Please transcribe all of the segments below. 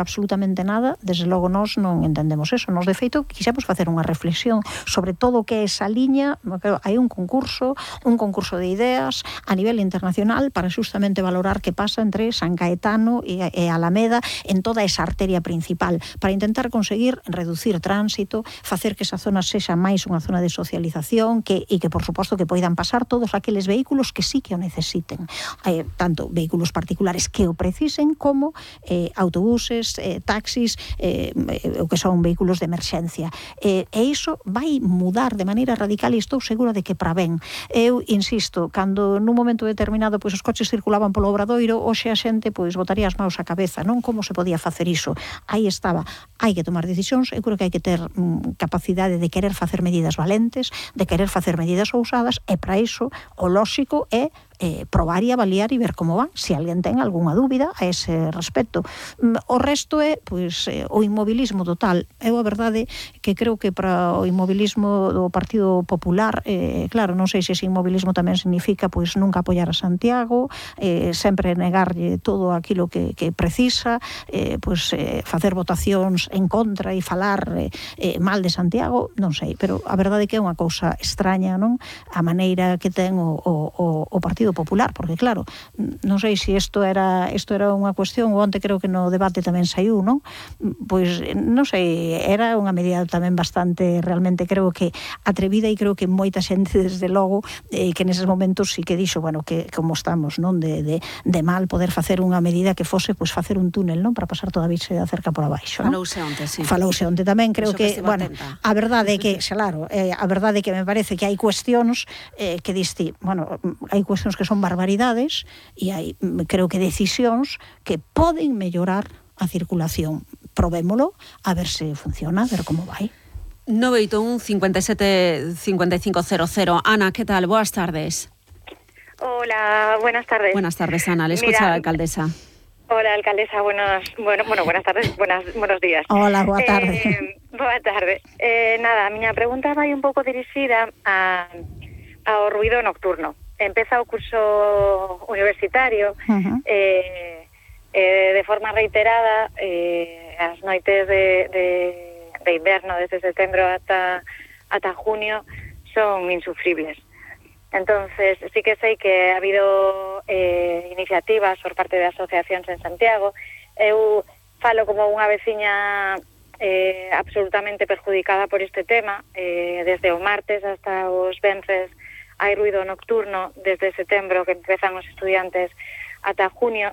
absolutamente nada, desde logo nós non entendemos eso. Nos, de feito, quixemos facer unha reflexión sobre todo o que é esa liña. Hai un concurso de ideas a nivel internacional para justamente valorar que pasa entre San Caetano e Alameda en toda esa arteria principal, para intentar conseguir reducir tránsito, facer que esa zona sexa máis unha zona de socialización e que, por suposto, que poidan pasar todos aqueles vehículos que sí que o necesiten, tanto vehículos particulares que o precisen como autobuses, taxis, o que son vehículos de emerxencia. E iso vai mudar de maneira radical e estou segura de que para ben. Eu insisto, cando nun momento determinado os coches circulaban polo Obradoiro, hoxe a xente botaría as maus á cabeza, non? Como se podía facer iso? Aí estaba. Hai que tomar decisións, eu creo que hai que ter capacidade de querer facer medidas valentes, de querer facer medidas ousadas, e para iso o lóxico é probar e avaliar e ver como van, se alguén ten algunha dúbida a ese respecto. O resto é o inmobilismo total. Eu a verdade que creo que para o inmobilismo do Partido Popular, claro, non sei se ese inmobilismo tamén significa nunca apoiar a Santiago, sempre negarlle todo aquilo que precisa, facer votacións en contra e falar mal de Santiago, non sei, pero a verdade que é unha cousa extraña, non? A maneira que ten o Partido Popular, porque claro, non sei se isto era unha cuestión, ou onte creo que no debate tamén saiu, non? Pois non sei, era unha medida tamén bastante, realmente creo que atrevida, e creo que moita xente desde logo que neses momentos sí que dixo, bueno, que como estamos, non, de mal poder facer unha medida que fose facer un túnel, non, para pasar toda a Virxe da Cerca por abaixo, non? Falouse onte tamén, creo que, bueno, a verdade é que, claro, a verdade é que me parece que hai cuestións que diste, bueno, hai cuestións que son barbaridades e hai, creo que, decisións que poden mellorar a circulación. Probémolo, a ver se funciona, a ver como vai. 981 57 5500. Ana, ¿qué tal? Buenas tardes. Hola, buenas tardes. Buenas tardes, Ana. Le escucha la alcaldesa. Hola, alcaldesa. Buenas tardes, buenos días. Hola, boa tarde. Boa tarde. Nada, a miña pregunta vai un pouco dirixida ao ruido nocturno. Empeza o curso universitario, de forma reiterada, as noites de inverno, desde setembro ata junio, son insufribles. Entonces, sí que sei que ha habido iniciativas por parte de asociacións en Santiago. Eu falo como unha veciña absolutamente perjudicada por este tema. Desde o martes hasta os venres hai ruido nocturno, desde setembro que empezan os estudiantes ata junio,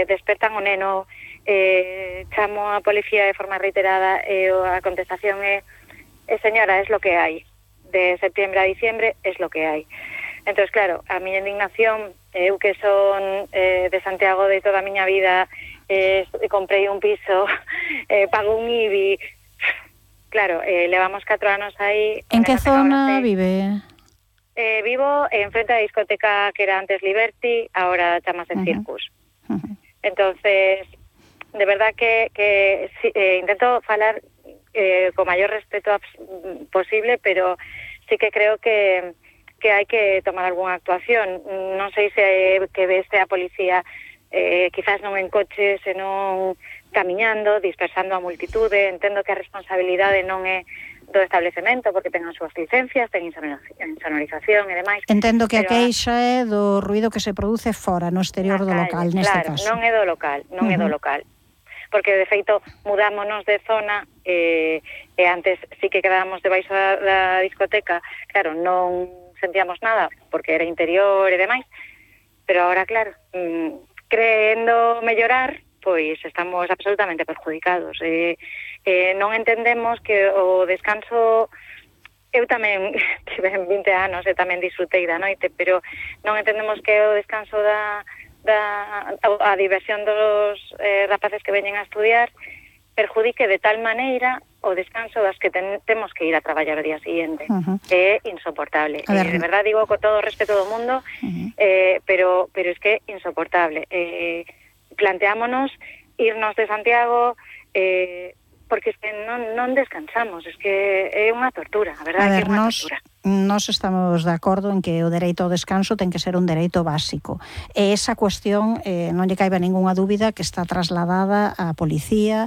despertan o neno, chamo a policía de forma reiterada, e a contestación é señora, es lo que hai. De septiembre a diciembre es lo que hai. Entonces, claro, a miña indignación, eu que son de Santiago de toda a miña vida, comprei un piso, pago un IBI, claro, levamos 4 anos aí. En que zona vive? Vivo en frente da discoteca que era antes Liberty, ahora chamase Circus. Entonces, de verdad que intento falar co maior respeto posible, pero sí que creo que hai que tomar algunha actuación. Non sei se que veste a policía quizás non en coche, senón camiñando, dispersando a multitude. Entendo que a responsabilidade non é do establecemento, porque ten as súas licencias, ten insonorización e demais. Entendo que a queixa é do ruido que se produce fora, no exterior do local, neste caso. Claro, non é do local, non é do local. Porque, de feito, mudámonos de zona, e antes sí que quedábamos debaixo da discoteca, claro, non sentíamos nada, porque era interior e demais, pero agora, claro, creendo mellorar, pois estamos absolutamente perjudicados. Non entendemos que o descanso... Eu tamén tive 20 anos e tamén disfrutei da noite, pero non entendemos que o descanso a diversión dos rapaces que veñen a estudiar perjudique de tal maneira o descanso das que temos que ir a traballar o día siguiente. É insoportable. De verdad digo con todo o respeto do mundo, pero es que é insoportable. Planteámonos irnos de Santiago, porque es que non descansamos, es que é unha tortura, a verdade, que é unha tortura. Nós estamos de acordo en que o dereito ao descanso ten que ser un dereito básico. E esa cuestión non lle caiba ningunha dúbida que está trasladada á policía